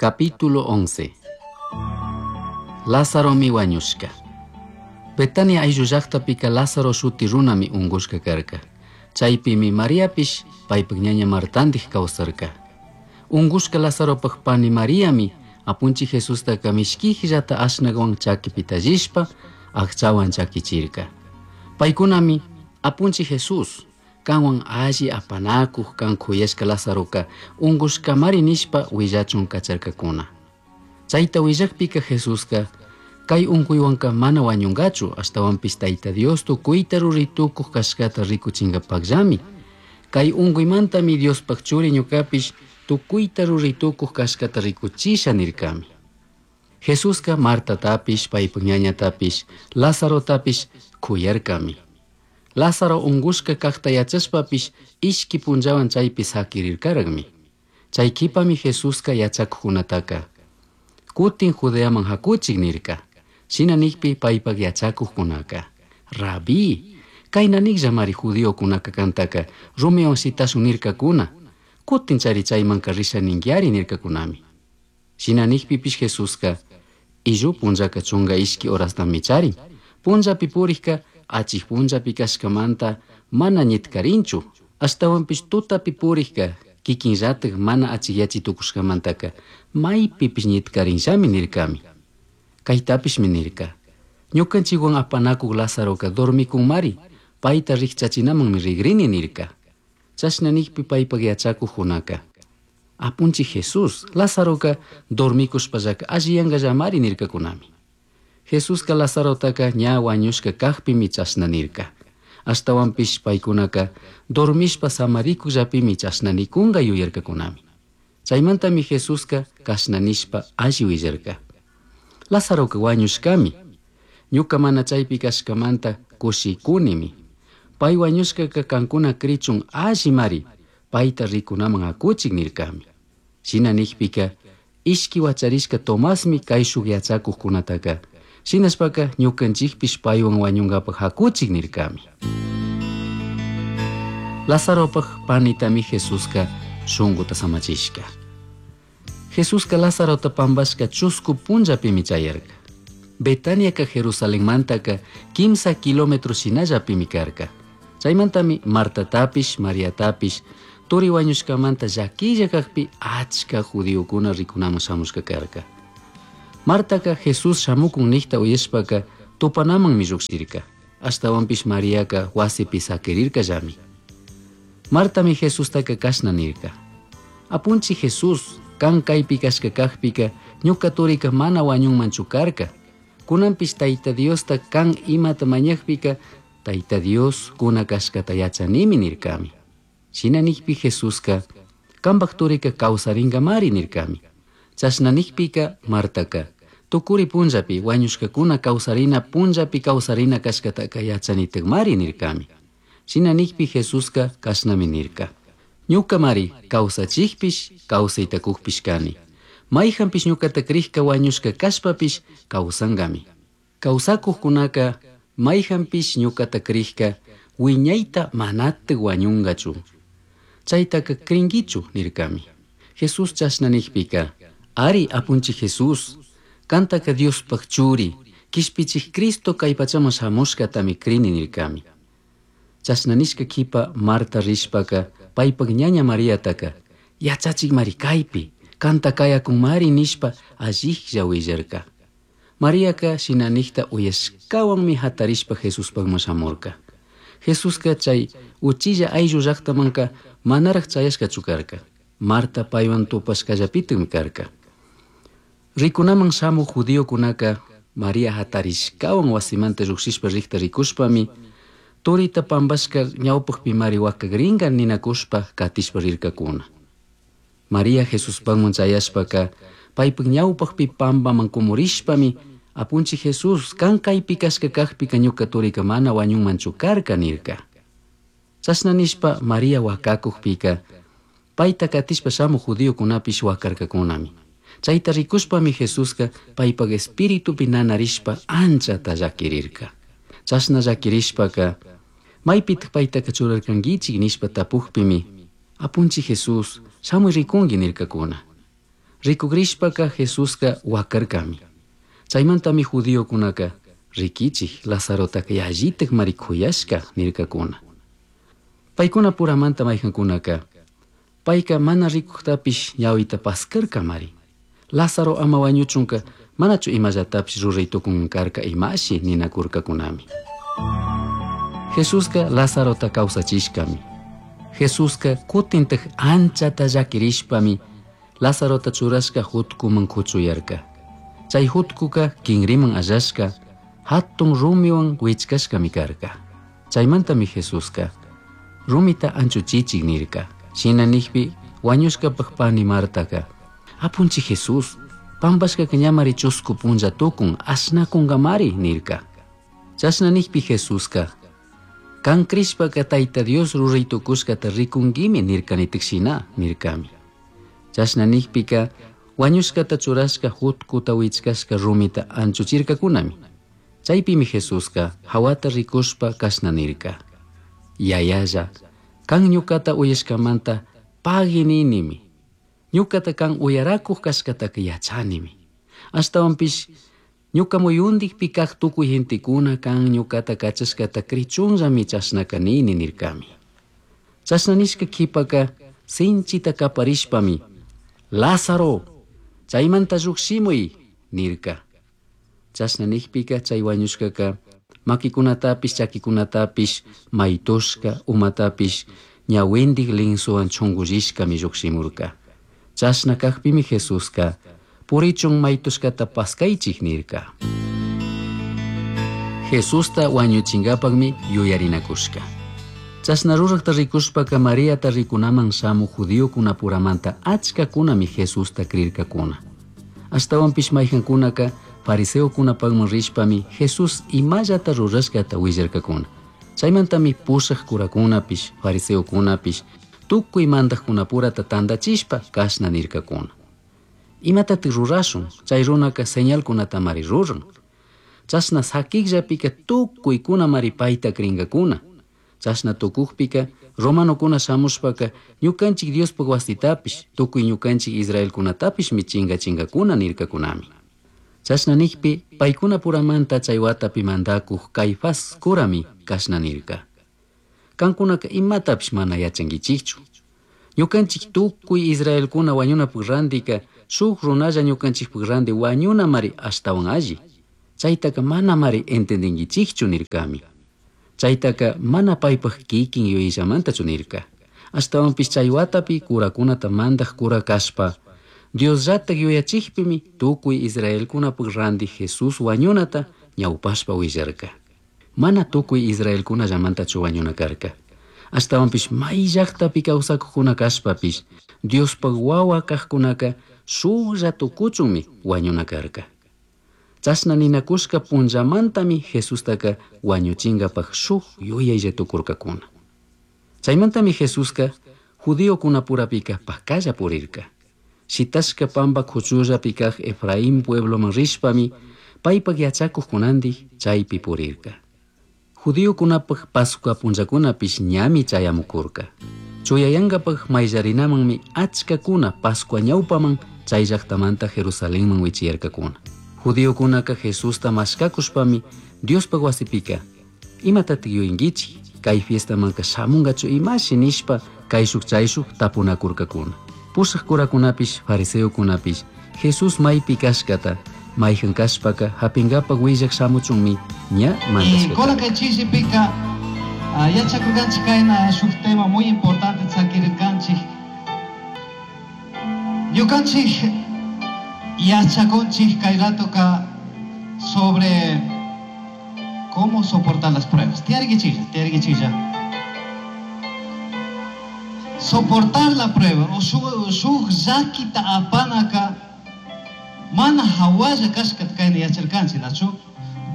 Capítulo 11. Lázaromi huañushka. Betania ayllu llajtapika Lázaro shuti runami ungushka karka. Chaypimi Mariapish paypak ñaña Martandij kawsarka. Ungushka Lazaropak pani Mariami apunchik Jesustaka mishkijllata ashnakwan chakipi tallishpa akchawan chakichirka. Paykunami apunchik Jesús kanwan alli apanakuj kan kuyashka Lazaroka ungushkamari nishpa willachun kacharkakuna. Chayta willakpika Jesuska kay unkuywanka mana wañunkachu ashtawanpish Tayta Dios tukuyta ruray tukuj kashkata rikuchinkapakllami. Kay unkuymantami Diospak churi ñukapish tukuyta ruray tukuj kashkata rikuchisha nirkami. Jesuska Martatapish paypak ñañatapish Lazarotapish kuyarkami. Lázaro ungushka kajta yachashpapish ishki punllawan chaypi sakirirkaraqmi. Chay kipami Jesuska yachakuqkunataka kutin Judeaman hakuchik nirka. Shina nikpi paypak yachakuqkunaka Rabí, kayna nikllamari judiokunaka kantaka rumiwan shitashun nirkakuna. Kutin chari chaymanka risha ninkiari nirkakunami. Shina nikpipish Jesuska illu punllaka chunka ishki horastami charin. Punllapi purikka achik punllapi kashkamanta mana ñitkarinchu. Ashtawanpish tutapi purikka kikinllatak mana achikyachi tukushkamantaka maypipish ñitkarinllami nirkami. Kaytapishmi nirka. Ñukanchikwan apanakuk Lazaroka dormikunmari, payta rikchachinamanmi rigrini nirka. Chashna nikpi paypak yachakuqkunaka Apunchik Jesús, Lazaroka dormikushpallaka alliyankallamari nirkakunami. Jesuska Lazarotaka ña wañushka kajpimi chashna nirka. Ashtawanpish paykunaka dormishpa samarikukllapimi chashna nikunka yuyarkakunami. Chaymantami Jesuska kashna nishpa alli willarka. Lazaroka wañushkami. Ñuka mana chaypi kashkamanta kushikunimi. Pay wañushkaka kankuna krichun allimari payta rikunaman hakuchik nirkami. Shina nikpika ishki wacharishka Tomasmi kayshuk yachakuqkunataka shinashpaka ñukanchikpish paywan wañunkapak hakuchik nirkami. Lazaropak panitami Jesuska shunkuta samachishka. Jesuska Lazarota pampashka chusku punllapimi chayarka. Betaniaka Jerusalenmantaka kimsa kilómetro shinallapimi karka. Chaymantami Martatapish, Mariatapish turi wañushkamanta llakilla kakpi achka judiokuna rikunaman shamushka karka. Martaka Jesús shamukun nikta uyashpaka tupanamanmi llukshirka. Ashtawanpish Mariaka wasipi sakirirkallami. Martami Jesustaka kashna nirka. Apunchik Jesús, kan kaypi kashka kajpika ñuka turika mana wañunmanchu karka. Kunanpish Tayta Diosta kan imata mañakpika Tayta Dios kuna kashkata yachanimi nirkami. Shina nikpi Jesuska kanpak turika kawsarinkamari nirkami. Chashna nikpika Martaka tukuri punllapi wañushkakuna kawsarina punllapi kawsarina kashkataka yachanitakmari nirkami. Shina nikpi Jesuska kashnami nirka. Ñukamari kawsachikpish kawsaytakukpish kani. Mayjanpish ñukata krikka wañushka kashpapish kawsankami. Kawsakuqkunaka mayjanpish ñukata krikka wiñayta manatik wañunkachu. Chaytaka krinkichu nirkami. Jesús chashna nikpika ari apunchik Jesús, kantaka Diospaj churi, kishpichik Cristo kay pachaman shamushkatami krini nirkami. Chashna nishka kipa Marta rishpaka paypak ñaña Mariataka yachachikmari kaypi, kanta kayakunmari nishpa alliklla willarka. Mariaka shina nikta uyashkawanmi hatarishpa Jesuspakman shamurka. Jesuska chay uchilla ayllu llaktamanka manaraj chayashkachu karka. Marta paywan tupashkallapitikmi karka. Rikunaman shamuq judiokunaka Maria hatarishkawan wasimanta llukshishpa rikta rikushpami turita pampashka ñawpakpimari wakakrinka ninakushpa katishpa rirkakuna. Maria Jesuspakman chayashpaka paypak ñawpakpi pampaman kumurishpami apunchik Jesús kan kaypi kashka kakpika ñuka turika mana wañunmanchu karka nirka. Chashna nishpa Maria wakakukpika payta katishpa shamuq judiokunapish wakarkakunami. Chayta rikushpami Jesuska paypak espiritupi nanarishpa anchata llakirirka. Chashna llakirishpaka maypitaq paytaka churarkankichik nishpa tapukpimi apunchik Jesús shamuy rikunki nirkakuna. Rikugrishpaka Jesuska wakarkami. Chaymantami judiokunaka rikichik Lazarotaka yallitak mari kuyashka nirkakuna. Paykuna puramanta maykankunaka payka mana rikuktapish ñawita paskarkamari. Lázaro ama wañuchunka manachu imallatapish ruray tukun karka imashi ninakurkakunami. Jesuska Lazarota kawsachishkami. Jesuska kutintak anchata llakirishpami Lazarota churashka jutkuman kuchuyarka. Chay jutkuka kinriman allashka hatun rumiwan wichkashkami karka. Chaymantami Jesuska rumita anchuchichik nirka. Shina nikpi wañushkapak pani Martaka apunchi Jesús pampashkaka ñamari chusku punlla tukun ashnakunkamari nirka. Chashna nikpi Jesuska kan krishpaka Tayta Dios ruray tukushkata rikunkimi nirkanitik shina nirkami. Chashna nikpika wañushkata churashka jutkuta wichkashka rumita anchuchirkakunami. Chaypimi Jesuska hawata rikushpa kashna nirka. Yayalla, kan ñukata uyashkamanta pagui ninimi. Ñukata kan uyarakuq kashkataka yachanimi. Ashtawanpish ñuka muyundikpi kaq tukuy gentekuna kan ñukata kachashkata krichunllami chashnaka nini nirkami. Chashna nishka kipaka sinchita kaparishpami Lázaro, chaymanta llukshimuy nirka. Chashna nikpika chay wañushkaka makikunatapish chakikunatapish maytushka umatapish ñawindik linsuwan chungullishkami lluqshimurka. Chashna kakpimi Jesuska purichun maytushkata paskaychik nirka. Jesusta wañuchinkapakmi yuyarinakushka. Chashna rurakta rikushpaka Mariata rikunaman shamuq judiokunapuramanta achkakunami Jesusta crirkakuna. Ashtawanpish maykankunaka fariseokunapakman rishpami Jesús imallata rurashkata willarkakuna. Chaymantami pushaq kurakunapish, fariseokunapish, tukuy mandaqkunapurata tantachishpa kashna nirkakuna. Imatatik rurashun, chay runaka señalkunatamari ruran. Chashna sakikllapika tukuykunamari payta krinkakuna. Chashna tukukpika romanokuna shamushpaka ñukanchik Diospuk wasitapish, tukuy ñukanchik israelkunatapishmi chinkachinkakuna nirkakunami. Chashna nikpi paykunapuramanta chay watapi mandakuq Caifás kurami kashna nirka. Kankunaka imatapish mana yachankichikchu. Ñukanchik tukuy israelkuna wañunapuk randika shuk runalla ñukanchikpuk randi wañunamari ashtawan alli. Chaytaka manamari entendinkichikchu nirkami. Chaytaka mana paypak kikin yuyallamantachu nirka. Ashtawanpish chay watapi kurakunata mandaq kura kashpa Diosllatak yuyachikpimi tukuy israelkunapuk randi Jesús wañunata ñawpashpa willarka. Mana tukuy israelkunallamantachu wañuna karka. Ashtawanpish may llaqtapi kawsakuqkuna kashpapish Diospaq wawa kaqkunaka shuklla tukuchunmi wañuna karka. Chashna ninakushka punllamantami Jesustaka wañuchinkapaq shuk yuyaylla tukurkakuna. Chaymantami Jesuska judiokunapurapika pakalla purirka. Shitashka pampa kuchullapi kaq Efraín puebloman rishpami paypak yachakuqkunandik chaypi purirka. Judiokunapak Pascua punllakunapish ñami chayamukurka. Chuyayankapak mayllarinamanmi achkakuna Pascua ñawpaman chay llaqtamanta Jerusalenman wichiyarkakuna. Judiokunaka Jesusta mashkakushpami Diospaq wasipika imatatik yuyinkichik kay fiestamanka shamunkachu imashi nishpa kayshuk chayshuk tapunakurkakuna. Pushaq kurakunapish fariseokunapish Jesús maypi kashkata mayjan kashpaka hapinkapak willaq shamuchunmi ña mandashka. Kunan kay chishipika yachakurkanchik kayna shuk tema muy importante sakirirkanchik. Ñukanchik yachakunchik kay ratoka sobre cómo soportar las pruebas. Tiyarikichilla, tiyarikichilla. Soportar la prueba o shuk llakita apanaka mana hawalla kashkata kayna yacharkanchik, nachu?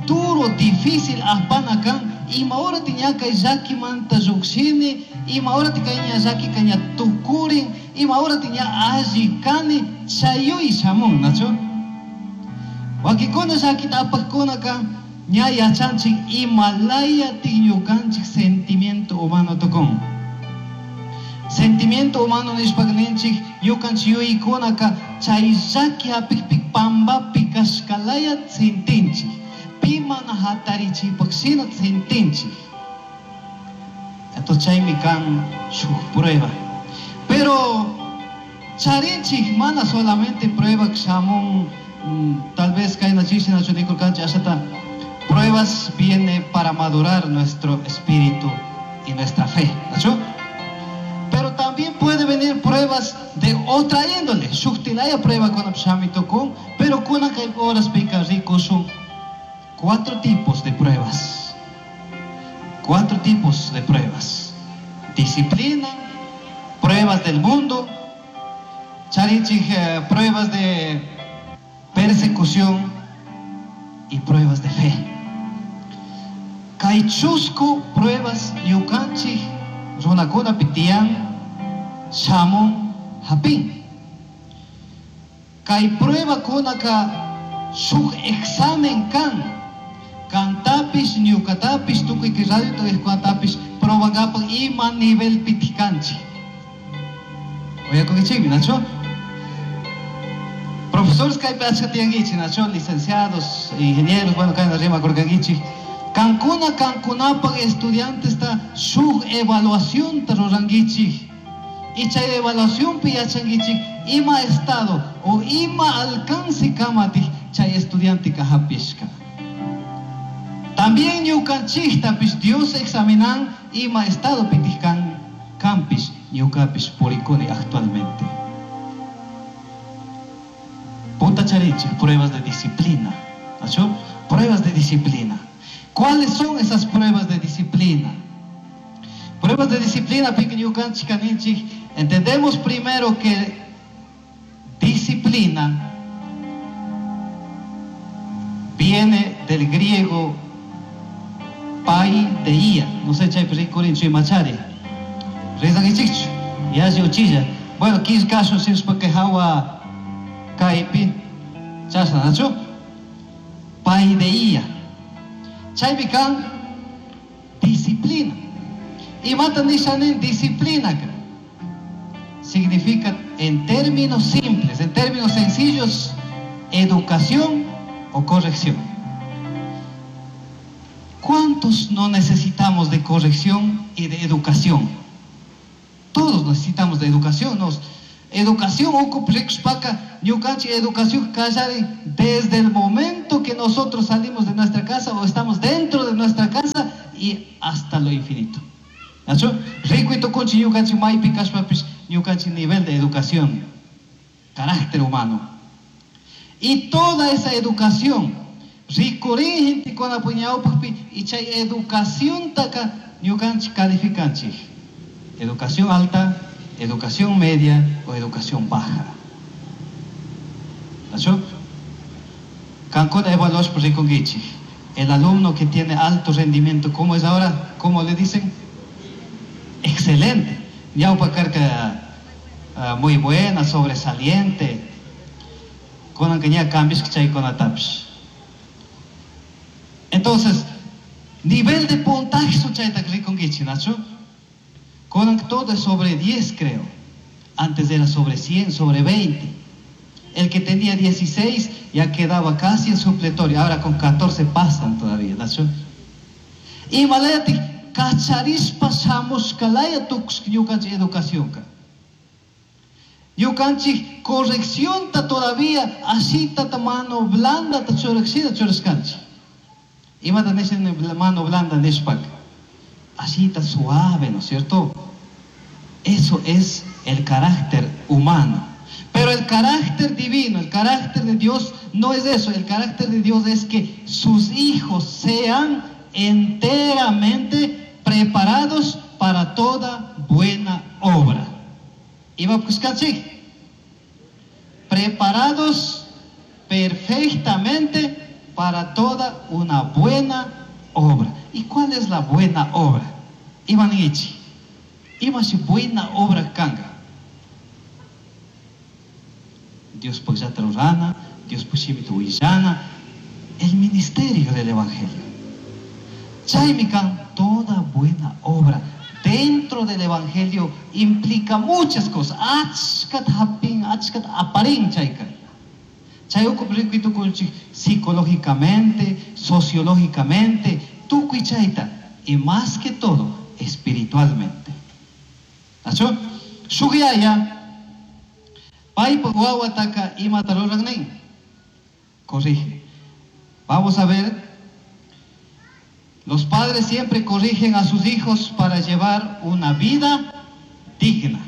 Duro, difícil apana kan ima hora ña kay llakimanta llukshini, ima hora kay ña llakika ña tukurin, ima hora ña alli kani, chayuy shamun, nachu? Wakikuna llakita apaqkunaka ña yachanchik ima laya ñukanchik sentimiento humano tukun. Sentimiento humano nishpaka ninchik ñukanchik yuyaykunaka chay llaki hapikpi pambapi kashkalaya sentinchik. Pi mana hatarichipaq shina sentinchik. Entonces chaymi kan shuk prueba. Pero charinchik mana solamente prueba shamun, tal vez kayna chishi nachu nikurkanchik ashata pruebas viene para madurar nuestro espíritu y nuestra fe, ¿nachu? Pero también puede venir pruebas de otra índole. Shuktilaya prueba con shamitokun, pero kuna kay horas pica rico son 4 tipos de pruebas. 4 tipos de pruebas. Disciplina, pruebas del mundo, charinchik pruebas de persecución y pruebas de fe. Kay chusku pruebas ñukanchik runakuna pitiyan shamun hapin. Kay prueba kunaka shuk examen kan. Kantapish ñukatapish tukuy kay radio tukuy probangapak ima nivel pitikanchik. Oyakunkichikmi, nacho? Profesores kaypi achka tiyankichik, nacho? Licenciados, ingenieros, bueno, kayna rimakurkankichik. Kankuna, kankunapak estudiantes ta shuk evaluación ta rurankichik. Y chay evaluación pi yachankichik ima estado o ima alcance kamatik chay estudiante ka hapishka. También ñukanchiktapish Dios examinan ima estado pitijkan kampish ñukapish purikuni actualmente. Punta charinchik, pruebas de disciplina. ¿Nacho? Pruebas de disciplina. ¿Cuáles son esas pruebas de disciplina? Pruebas de disciplina, ñukanchik kaninchik, entendemos primero que disciplina viene del griego paideia. No sé, chay, pero ricurinchu imachari. Rezangichikchu, yashi uchilla. Bueno, killkashun sirshpa hawa kaypi, chashna, nachu? Paideia. Chaypi kan disciplina. Imata nishanin disciplina ka. Significa en términos simples, en términos sencillos, educación o corrección. ¿Cuántos no necesitamos de corrección y de educación? Todos necesitamos de educación. Nos, educación, ocupa, ñukanchik, educación kallari, desde el momento que nosotros salimos de nuestra casa o estamos dentro de nuestra casa y hasta lo infinito. ¿Nacho? Rico y toconchi, ñukanchik, maypi kashpapish, ñukanchik nivel de educación, carácter humano. Y toda esa educación, rikurin gente con apuñaupakpi, y chay educación taka ñukanchik calificanchik. Educación alta, educación media o educación baja. ¿Nacho? Cancún evaluó por rikungichik. El alumno que tiene alto rendimiento, ¿cómo es ahora? ¿Cómo le dicen? Excelente. Ñaupa carka muy buena, sobresaliente. Con que ya cambios que chay con atapish. Entonces, nivel de puntaje su chay ta rikungichik, Nacho. Con todo es sobre 10, creo. Antes era sobre 100, sobre 20. El que tenía 16 ya quedaba casi en supletorio. Ahora con 14 pasan todavía, Nacho. Y malayati kacharispa shamushkalaya tukushka ñukanchik educación ka. Ñukanchik corrección ta todavía asita ta mano blanda ta churashina churashkanchik. Imata nishan mano blanda nishpak. Asita suave, ¿no es cierto? Eso es el carácter humano. Pero el carácter divino, el carácter de Dios no es eso. El carácter de Dios es que sus hijos sean enteramente preparados para toda buena obra. Iba a buscar, sí. Preparados perfectamente para toda una buena obra. ¿Y cuál es la buena obra? Iban ichi. Iba si buena obra kanga. Dios pues ya rana, Dios pues huillana, el ministerio del Evangelio. Chaymi kan toda buena obra. dentro del Evangelio implica muchas cosas. Achkat hapin, achkat aparin chayka. Chay ukupi rikuy tukunchik psicológicamente, sociológicamente, tukuy chayta. Y más que todo, espiritualmente. Nachu? Shuk yaya, paypa wawataka imata ruran nin. Corrige. Vamos a ver. Los padres siempre corrigen a sus hijos para llevar una vida digna.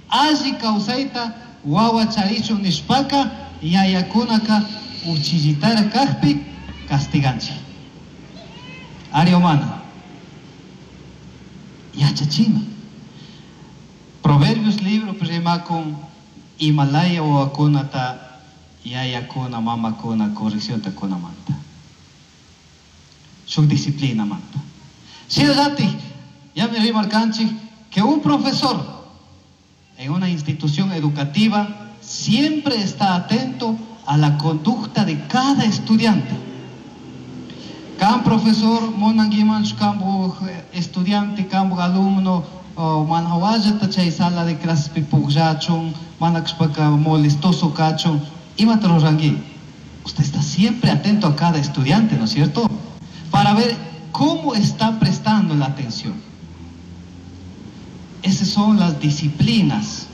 Alli kawsayta wawa charichun nishpaka yayakunaka uchillitara kajpi castiganchik. Ari humana. Yachachina. Proverbios libro rimakun imalaya wawakunata yayakuna mamakuna correccionta kunamanta. Shuk disciplina manta. Shinallatik, ya me rimarkanchik que un profesor en una institución educativa siempre está atento a la conducta de cada estudiante. Kan profesor munankimanchu kampu estudiante, kampu alumno, mana hawallata chay sala de clases pukllachun, mana kashpaka molestoso kachun, imata ruranki. Usted está siempre atento a cada estudiante, ¿no es cierto? Para ver cómo está prestando la atención. Esas son las disciplinas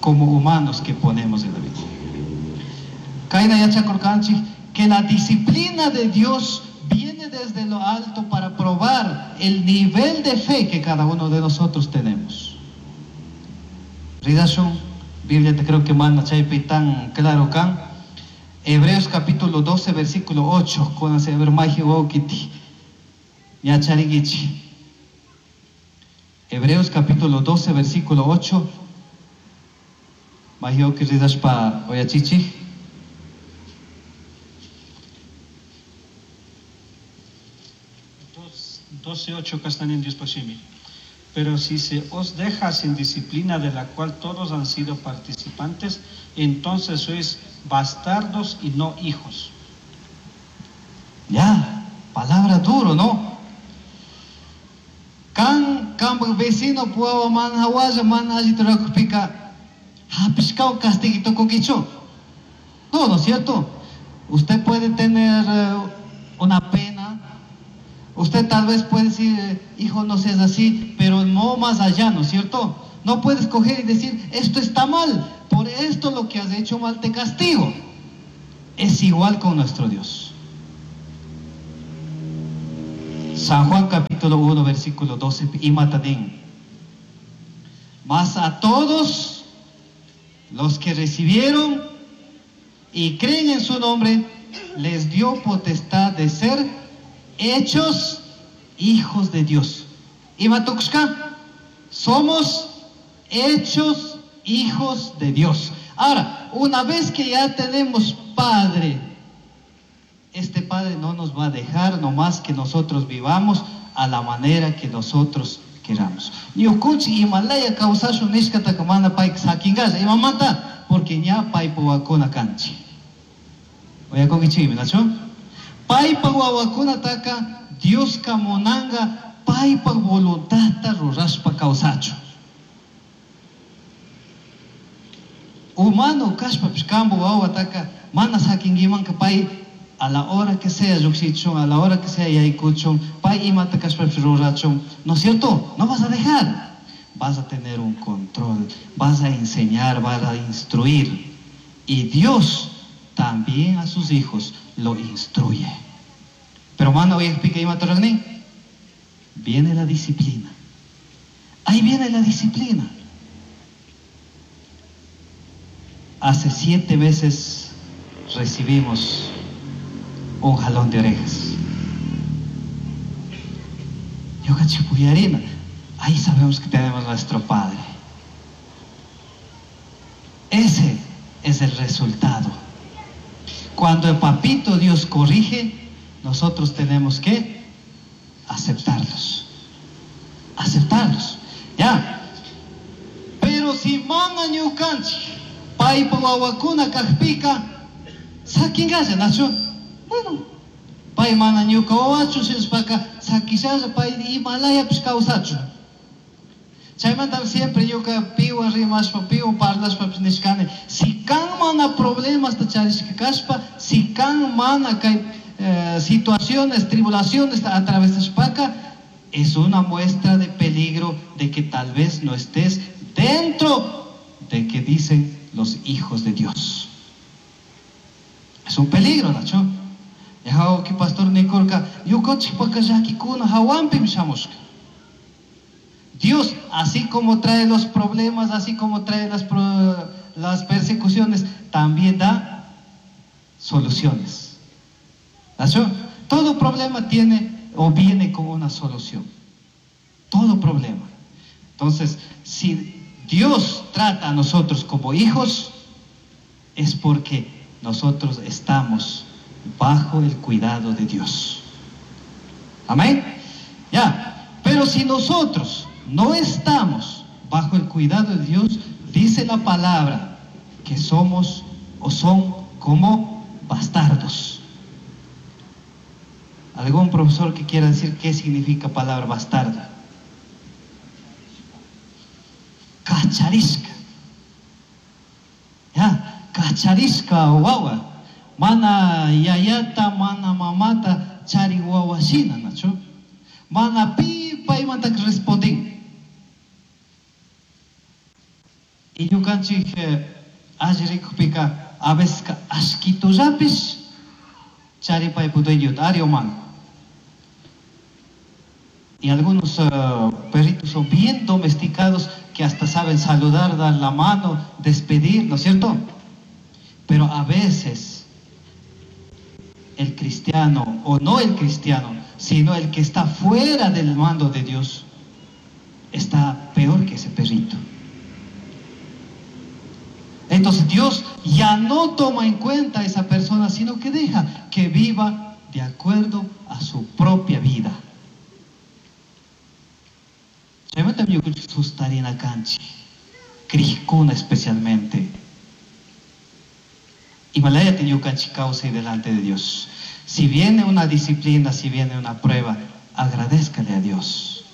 como humanos que ponemos en la vida. Kaina yachakurkanchik, que la disciplina de Dios viene desde lo alto para probar el nivel de fe que cada uno de nosotros tenemos. Ridashun, Biblia te creo que manda chaypi tan claro kan. Hebreos capítulo 12, versículo 8, con ese magia wawkiti. Yacharigichi. Hebreos capítulo 12, versículo 8. Mahioki ridashpa oyachichi. 12:8 castanen Dios pasimi. Pero si se os deja sin disciplina de la cual todos han sido participantes, entonces sois bastardos y no hijos. Ya, palabra duro, ¿no? Kan kan vecino puedo man hawaya man allí te hapishkao castiguito coquicho. No, ¿no es cierto? Usted puede tener una pena. Usted tal vez puede decir, hijo, no seas así, pero no más allá, ¿no es cierto? No puedes coger y decir, esto está mal, por esto lo que has hecho mal te castigo. Es igual con nuestro Dios. San Juan capítulo 1, versículo 12, y matadín. Mas a todos los que recibieron y creen en su nombre, les dio potestad de ser hechos hijos de Dios. Y Matuxka, somos hechos hijos de Dios. Ahora, una vez que ya tenemos Padre, este Padre no nos va a dejar nomás que nosotros vivamos a la manera que nosotros queramos. Ñukunchik imalaya kawsashun nishkataka mana payka sakinkash, imamanta, porque ña paypa wawakuna kanchik. Uyakunkichikmi, nachu? Paypa wawakunataka Dioska munanka paypa voluntadta rurashpa kawsachun. Humano kashpapish kampu wawataka mana sakinkimanka pay a la hora que sea llukshichun, a la hora que sea yaykuchun, pay imata kashpapish rurachun, ¿no es cierto? No vas a dejar. Vas a tener un control, vas a enseñar, vas a instruir. Y Dios también a sus hijos lo instruye. Pero mano, hoy explica imata rurani. Viene la disciplina. Ahí viene la disciplina. Hace 7 meses recibimos un jalón de orejas. Yo cachipuyarina, ahí sabemos que tenemos nuestro Padre. Ese es el resultado. Cuando el papito Dios corrige, nosotros tenemos que aceptarlos. Aceptarlos. Ya. Pero si mana ñukanchik, paypa wawakuna kajpika, sakinkalla, nachu? Bueno, pay mana ñuka wawachu, shinashpaka sakishalla, pay imalayapish kawsachu. Chaymanta siempre ñuka piwan rimashpa, piwan parlashpapish nishkani, si kan mana problemasta charishka kashpa, si kan mana kay situaciones, tribulaciones atravesashpaka, es una muestra de peligro de que tal vez no estés dentro de que dicen los hijos de Dios. Es un peligro, Nacho. Que pastor Nicolka, Dios, así como trae los problemas, así como trae las persecuciones, también da soluciones. ¿Nacho? Todo problema tiene o viene con una solución. Todo problema. Entonces, si Dios trata a nosotros como hijos, es porque nosotros estamos bajo el cuidado de Dios. Amén. Ya. Pero si nosotros no estamos bajo el cuidado de Dios, dice la palabra que somos o son como bastardos. ¿Algún profesor que quiera decir qué significa palabra bastardo? Cacharisca. Ya, cacharisca wawa. Mana yayata, mana mamata, chari wawa shina, nacho. Mana pi paymanta respondin. Y ñukanchik alli rikukpika a veces ashkitullapish chari paypu dueñota, ari o mana. Y algunos perritos son bien domesticados que hasta saben saludar, dar la mano, despedir, ¿no es cierto? Pero a veces el cristiano, o no el cristiano, sino el que está fuera del mando de Dios, está peor que ese perrito. Entonces Dios ya no toma en cuenta a esa persona, sino que deja que viva de acuerdo a su propia vida. Especialmente. Himalaya causa y delante de Dios. Si viene una disciplina, si viene una prueba, agradézcale a Dios.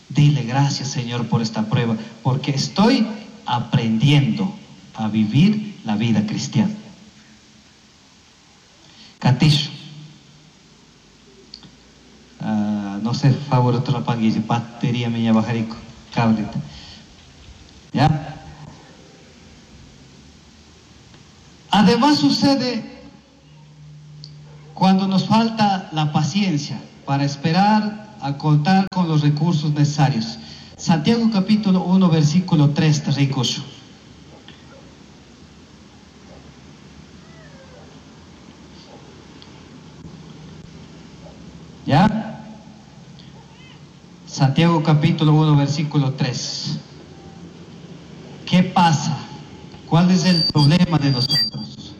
Dile gracias, Señor, por esta prueba, porque estoy aprendiendo a vivir la vida cristiana. Katishu. No sé, favor, otro la batería me bajarico, cable. ¿Ya? Además sucede cuando nos falta la paciencia para esperar a contar con los recursos necesarios. Santiago capítulo 1, versículo 3, ricoso. ¿Ya? Santiago capítulo 1, versículo 3. ¿Qué pasa? ¿Cuál es el problema de nosotros?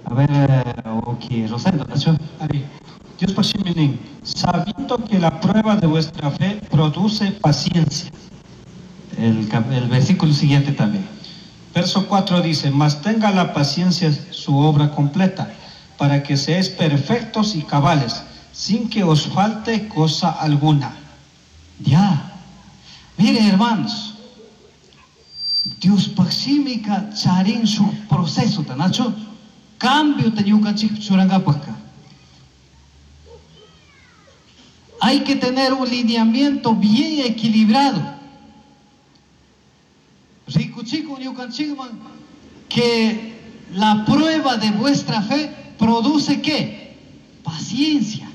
A ver, ok, Rosendo, ¿no? Dios sabiendo que la prueba de vuestra fe produce paciencia. El versículo siguiente también. Verso 4 dice, mas tenga la paciencia su obra completa, para que seáis perfectos y cabales, sin que os falte cosa alguna. Ya. Miren, hermanos, Dios paximika charin su proceso, tanacho. Cambio te ñukanchik churangapaka. Hay que tener un lineamiento bien equilibrado. Rikuchiku ñukanchikman que la prueba de vuestra fe produce ¿qué? Paciencia.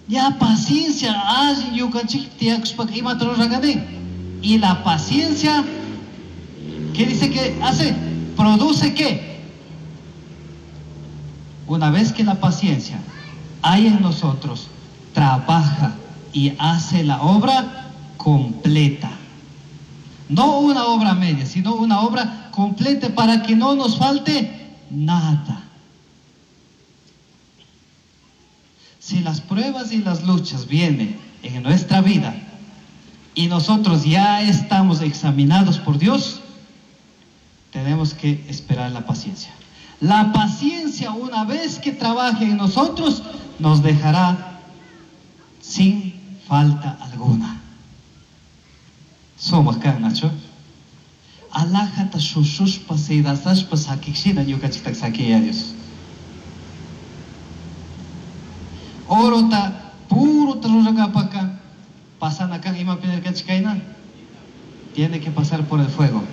Ya paciencia alli ñukanchik tiyakushpaka imata rurakanin. Y la paciencia, ¿qué dice que hace? ¿Produce qué? Una vez que la paciencia hay en nosotros, trabaja y hace la obra completa. No una obra media, sino una obra completa para que no nos falte nada. Si las pruebas y las luchas vienen en nuestra vida y nosotros ya estamos examinados por Dios, tenemos que esperar la paciencia. La paciencia, una vez que trabaje en nosotros, nos dejará sin falta alguna. Sumaq kan, nachu? Alajata shushushpa sedasashpa sakikshina ñukanchikta sakiya Dios. Orota purota rurangapaka pasana kan imapi nirkanchik kayna? Tiene que pasar por el fuego.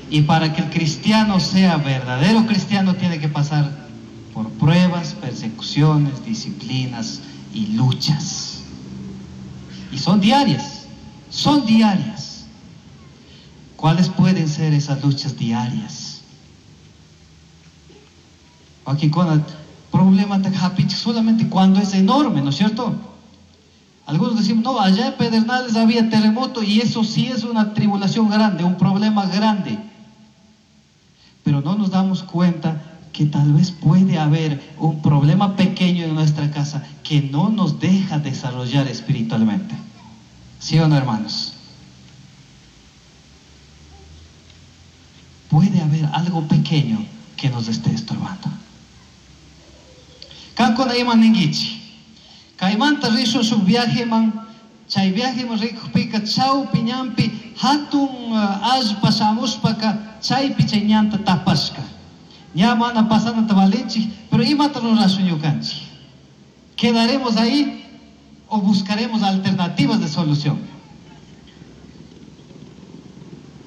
Y para que el cristiano sea verdadero cristiano, tiene que pasar por pruebas, persecuciones, disciplinas y luchas. Y son diarias, son diarias. ¿Cuáles pueden ser esas luchas diarias? Aquí con el problema solamente cuando es enorme, ¿no es cierto? Algunos decimos, no, allá en Pedernales había terremoto y eso sí es una tribulación grande, un problema grande. Pero no nos damos cuenta que tal vez puede haber un problema pequeño en nuestra casa que no nos deja desarrollar espiritualmente. ¿Sí o no, hermanos? Puede haber algo pequeño que nos esté estorbando. Kankuna ima ninkichik. Kaymanta rishun shuk viajeman, chay viajeman rikukpika chawpi ñanpi hatun allpa shamushpaka chaypi chay ñanta tapashka. Ña mana pasanata valinchik, pero imata rurashun ñukanchik. ¿Quedaremos ahí o buscaremos alternativas de solución?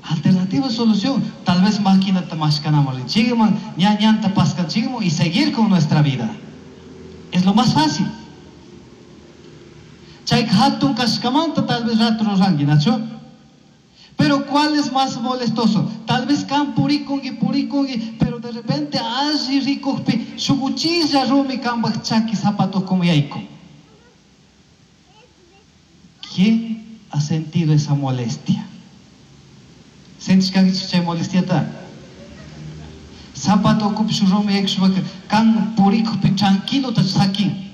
Alternativa de solución. Tal vez maquinata mashkanamos rinchikman, ña ñanta paskanchikman y seguir con nuestra vida. Es lo más fácil. Chay hatun kashkamanta tal vez rato ruranki, nachu? Pero ¿cuál es más molestoso? Tal vez kan purikunki, purikunki, pero de repente alli rikukpi shuk uchilla rumi kambaj chaki zapatos como yayku. ¿Quién ha sentido esa molestia? Sentish kankichik chay molestiata? Zapato ukupi shuk rumi yaykushpaka kan purikukpi tranquilo ta sakin.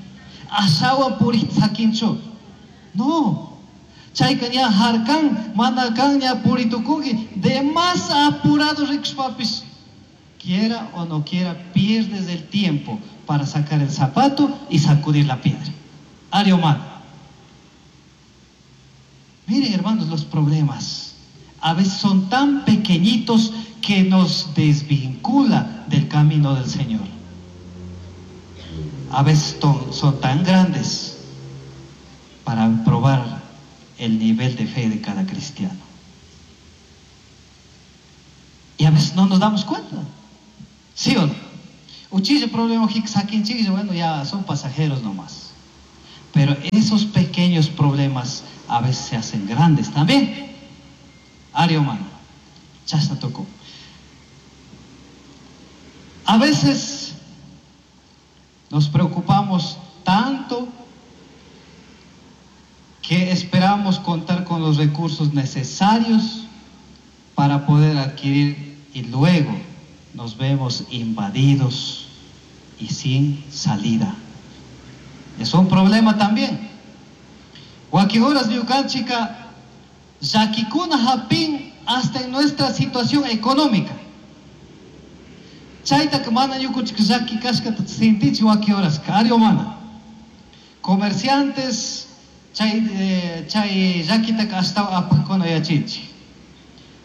Ashawan purik sakinchu. No. Chayka ña harkan, mana kan ña puritukunki, de más apurado rikushpapis, quiera o no quiera, pierdes el tiempo para sacar el zapato y sacudir la piedra. Ariomán. Miren, hermanos, los problemas a veces son tan pequeñitos que nos desvincula del camino del Señor. A veces son tan grandes para probar el nivel de fe de cada cristiano. Y a veces no nos damos cuenta. ¿Sí o no? Uchilla problema, saquin, bueno, ya son pasajeros nomás. Pero esos pequeños problemas a veces se hacen grandes también. Ario humano. Chasta tocó. A veces nos preocupamos tanto que esperamos contar con los recursos necesarios para poder adquirir y luego nos vemos invadidos y sin salida. Es un problema también. Wakihoras ñukanchika llakikuna hapin hasta en nuestra situación económica. Chayta mana ñukunchik llaki kashkata sintichi wakihoras kari mana. Comerciantes chay chay llakitaka ashtawan apajkuna yachinchik.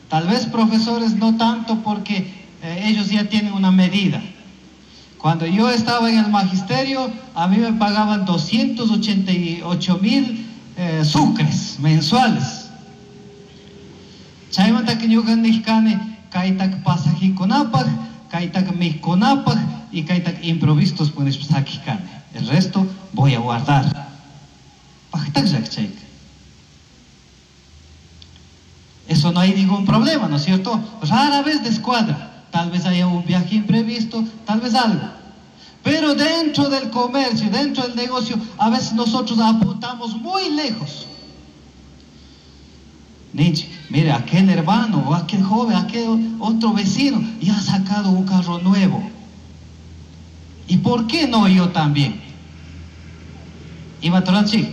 Tal vez profesores no tanto porque ellos ya tienen una medida. Cuando yo estaba en el magisterio, a mí me pagaban 288,000 sucres mensuales. Chaymantaka ñuka nijkani kaytaka pasajikunapaj, kaytaka mijkunapaj y kaytaka improvistos punishpa sakijkani. El resto voy a guardar. Pajtakllak chayka. Eso no hay ningún problema, ¿no es cierto? Rara vez descuadra. Tal vez haya un viaje imprevisto, tal vez algo. Pero dentro del comercio, dentro del negocio, a veces nosotros apuntamos muy lejos. Ninchi, mire, aquel hermano, o aquel joven, aquel otro vecino, ya ha sacado un carro nuevo. ¿Y por qué no yo también? Iba Toranchi,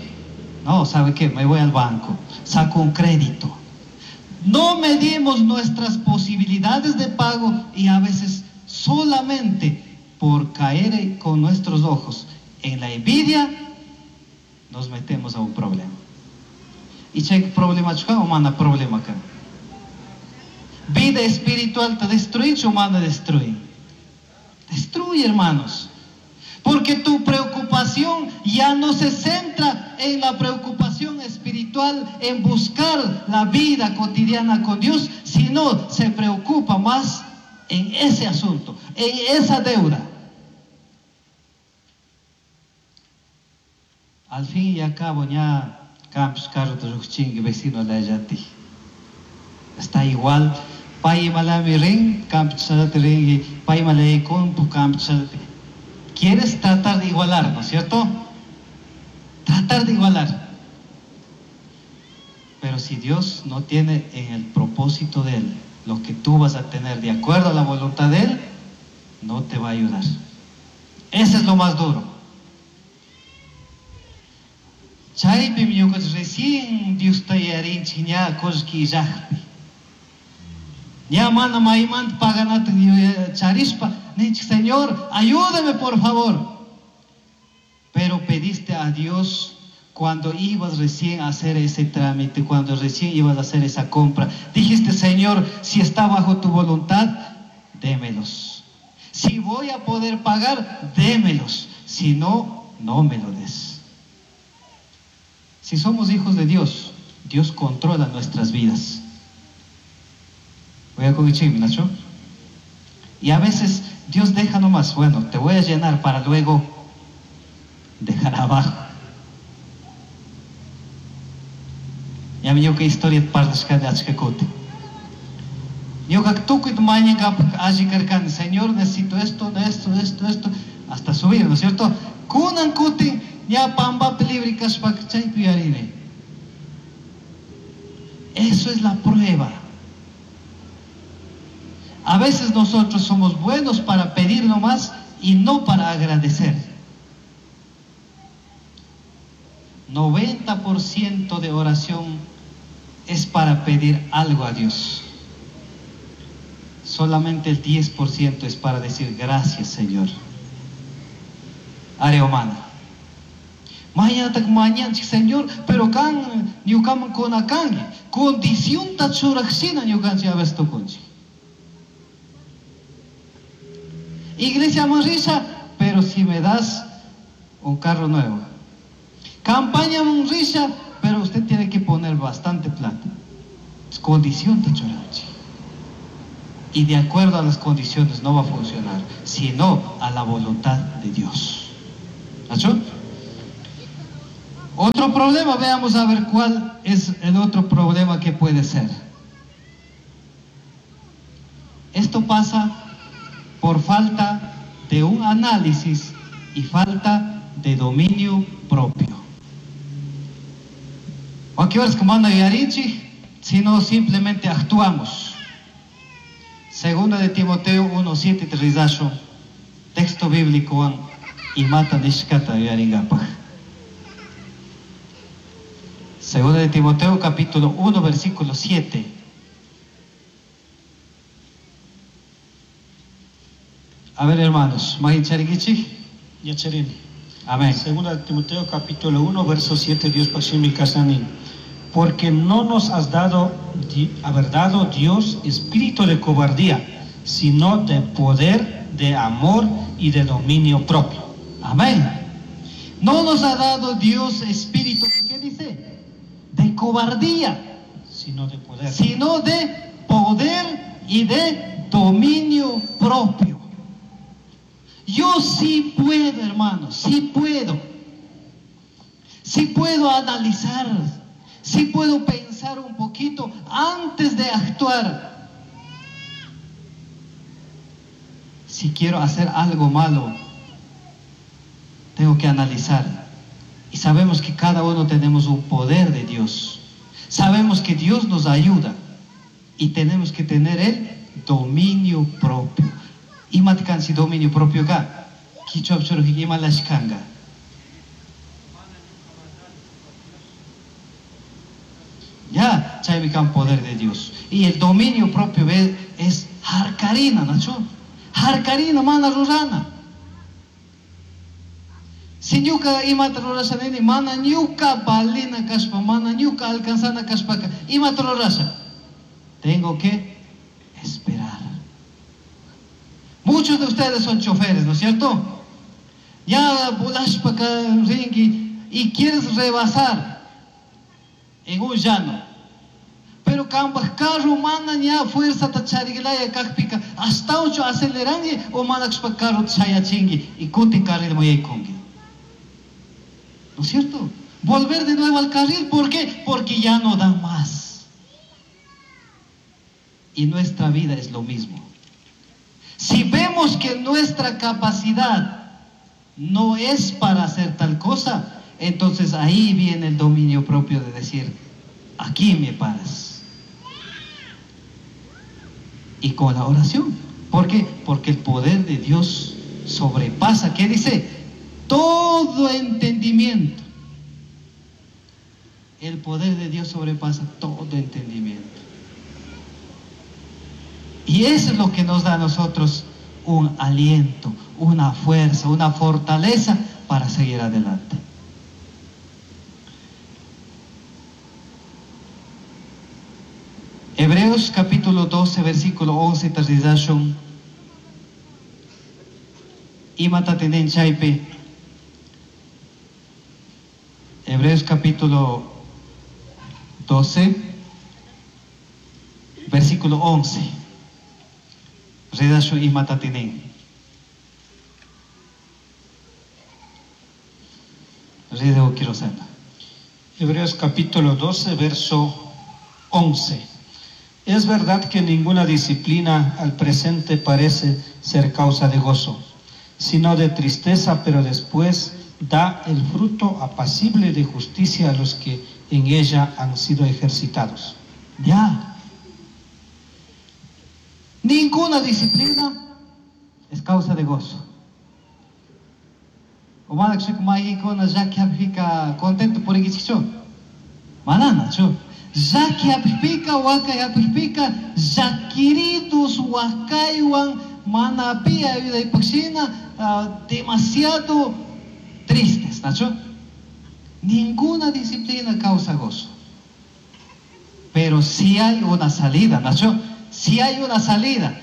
no, ¿sabe qué? Me voy al banco, saco un crédito. No medimos nuestras posibilidades de pago y a veces solamente por caer con nuestros ojos en la envidia nos metemos a un problema. Y chay problema o mana problema kan. Vida espiritual te destruye o mana destruye. Destruye, hermanos. Porque tu preocupación ya no se centra en la preocupación espiritual, en buscar la vida cotidiana con Dios, sino se preocupa más en ese asunto, en esa deuda. Al fin y al cabo, ya campos carro de vecino la yati. Está igual. Pai malami rin, campos rin, pai malay con campos. Quieres tratar de igualar, ¿no es cierto? Tratar de igualar. Pero si Dios no tiene en el propósito de Él lo que tú vas a tener de acuerdo a la voluntad de Él, no te va a ayudar. Ese es lo más duro. Chaypim ñuqanchik recién Diosta yarinchik ña qullqi illaqpi. Ña mana maymanta paganata charispa ninchik, Señor, ayúdame por favor. Pero pediste a Dios cuando ibas recién a hacer ese trámite, cuando recién ibas a hacer esa compra. Dijiste, Señor, si está bajo tu voluntad, démelos. Si voy a poder pagar, démelos. Si no, no me lo des. Si somos hijos de Dios, Dios controla nuestras vidas. Voy a con Nacho. Y a veces Dios deja nomás, bueno, te voy a llenar para luego dejar abajo. Ya me que historia parlashkani achkakuti. Ñuka tukuy mañankapak alli karkani, Señor, necesito esto, esto, esto, esto, hasta subir, ¿no es cierto? Kunan kutin ña pambapi libre kashpaka chaypi yuyarini. Eso es la prueba. A veces nosotros somos buenos para pedir nomás y no para agradecer. 90% de oración es para pedir algo a Dios. Solamente el 10% es para decir gracias, Señor. Área humana. Mañana, Señor, pero kan ñukaman kunakanki. Condición ta churaqshina ñukanchik a veces tukunchik. Iglesia manrisha, pero si me das un carro nuevo. Campaña manrisha, pero usted tiene que poner bastante plata. Es condición ta churanchik. Y de acuerdo a las condiciones no va a funcionar, sino a la voluntad de Dios. ¿Nacho? Otro problema, veamos a ver cuál es el otro problema que puede ser. Esto pasa por falta de un análisis y falta de dominio propio. Aquí es como anda yarinchik, sino simplemente actuamos. Segunda de Timoteo 1:7 trizacho, texto bíblico y mata nishkata yaringapaj. Segunda de Timoteo capítulo 1 versículo 7. A ver, hermanos, Mahicharikichi. Yacharini. Amén. Segunda de Timoteo capítulo 1 verso 7, Dios pashimi kasanin. Porque no nos has dado, haber dado Dios espíritu de cobardía, sino de poder, de amor y de dominio propio. Amén. No nos ha dado Dios espíritu, ¿qué dice? De cobardía, sino de poder. Sino de poder y de dominio propio. Yo sí puedo, hermano, sí puedo. Sí puedo analizar, sí puedo pensar un poquito antes de actuar. Si quiero hacer algo malo, tengo que analizar. Y sabemos que cada uno tenemos un poder de Dios. Sabemos que Dios nos ayuda y tenemos que tener el dominio propio. Imatkansi dominio propio ka, kichwa churji imalashkanga. Ya, chaymi kan poder de Dios. Y el dominio propio es harkarina, ¿nacho? Harkarina mana rurana. Si ñuka imata rurasha nini, mana ñuka valina kashpa, mana ñuka alcanzana kashpaka, imata rurasha. Tengo que esperar. Muchos de ustedes son choferes, ¿no es cierto? Ya volashpa ringi y quieres rebasar en un llano. Pero kambaj carro mana ña fuerza ta charigilaya kakpika hasta ocho acelerangi o mana carro chayachingi y kutin carril muyaykungi. ¿No es cierto? Volver de nuevo al carril, ¿por qué? Porque ya no da más. Y nuestra vida es lo mismo. Si vemos que nuestra capacidad no es para hacer tal cosa, entonces ahí viene el dominio propio de decir, aquí me paras. Y con la oración. ¿Por qué? Porque el poder de Dios sobrepasa, ¿qué dice? Todo entendimiento. El poder de Dios sobrepasa todo entendimiento. Y eso es lo que nos da a nosotros un aliento, una fuerza, una fortaleza para seguir adelante. Hebreos capítulo 12, versículo 11, tarizashun. Imata tenen chaypi. Hebreos capítulo 12, versículo 11. Redashu imata tenen. Redeo quiero saber. Hebreos capítulo 12, verso 11. Es verdad que ninguna disciplina al presente parece ser causa de gozo, sino de tristeza, pero después da el fruto apacible de justicia a los que en ella han sido ejercitados. Ya. Ninguna disciplina es causa de gozo. Contento por Manana, Llaki hapikpika, wakay hapikpika, llakiritus wakaywan mana pi ayudaypaqshina, demasiado tristes, ¿nacho? Ninguna disciplina causa gozo. Pero sí hay una salida, ¿nacho? Sí hay una salida.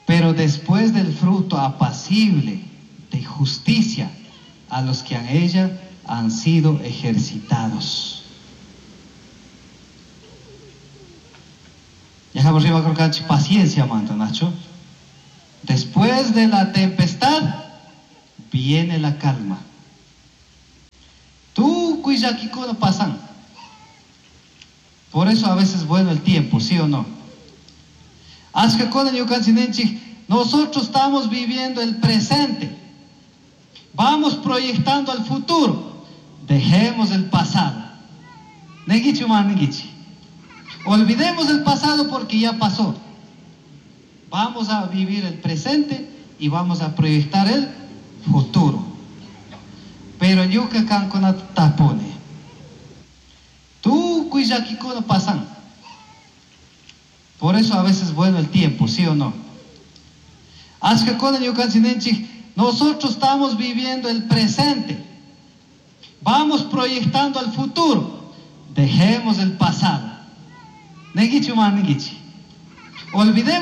Pero después del fruto apacible de justicia a los que en ella han sido ejercitados. Dejamos arriba creo que paciencia, manta, Nacho. Después de la tempestad viene la calma. Tú, no pasan. Por eso a veces es bueno el tiempo, ¿sí o no? Nosotros estamos viviendo el presente. Vamos proyectando al futuro. Dejemos el pasado. Negichi, man, negichi. Olvidemos el pasado porque ya pasó. Vamos a vivir el presente y vamos a proyectar el futuro. Pero ñuka kankuna tapone. Tukuy llakikuna pasan. Por eso a veces es bueno el tiempo, ¿sí o no? Achkakuna ñukanchik nosotros estamos viviendo el presente. Vamos proyectando al futuro. Dejemos el pasado. Negichi, man, negichi. Olvidemos